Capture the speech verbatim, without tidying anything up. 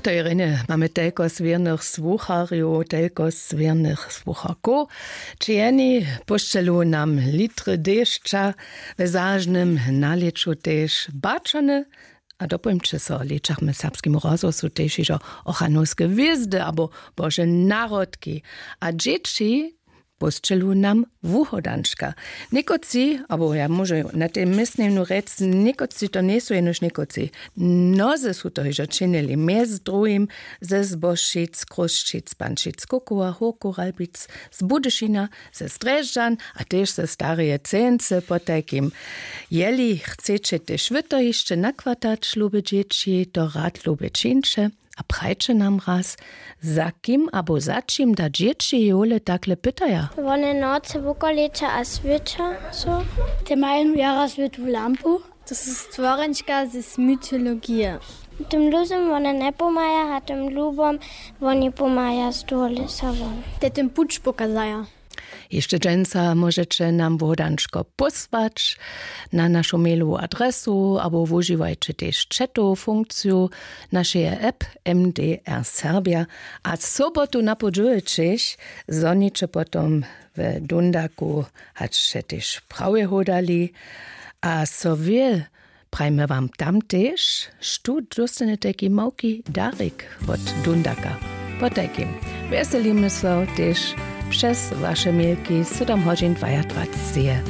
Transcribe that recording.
To je rjenje, mamy telko swěrnych słucharjow, telko swěrnych słucharkow. Čejeni pósćelu nam litry dešća, we zažnym nalěću tež bačany. A dopowěmće so, lěćachmy serbskemu rozhłosu tež hižo ochanowske hwězdy abo bože narodki. A dźěći pósćelu nam wuhodančka. Někotři, abo ja móžu na tej městnjenu rjec, někotři to njejsu jenož někotři. Mnozy su to hižo činili, mjez druhim ze Zbožic, Chrósćic, Pančic, Kukowa, Hórkow, Ralbic, z Budyšina, ze Drježdźan a tež ze Stareje Cence. Potajkim, jeli chceće tež wy to hišće nakwatać, lube dźěći, to rad lube čińće. A prajće nam raz, za kim abo za čim da dźěći jowle takle pytaja? Wone nocy wukoleča a swěća so. Te mają jara swětłu lampu. To su stworenčka z mytologije. Tym luzym wone njepomaja a tym lubom woni pomaja z dołu lěsa won. Te tym puć pokazaja. Hišće dźensa móžeće nam wodančko pósłać na našu mailowu adresu abo wužiwajće tež chatowu funkciju našeje app M D R Serbja. A sobotu napołdźu ćěch zhoniće potom w Dundaku, hač će tež prawje hodali. A so wě, prajmy wam tamtež, štó dóstanete tajki małki darik wot Dundaka. Potajkim, wjeselimy so tež přez waše mailki, sydom hodźin dwajadwaceje.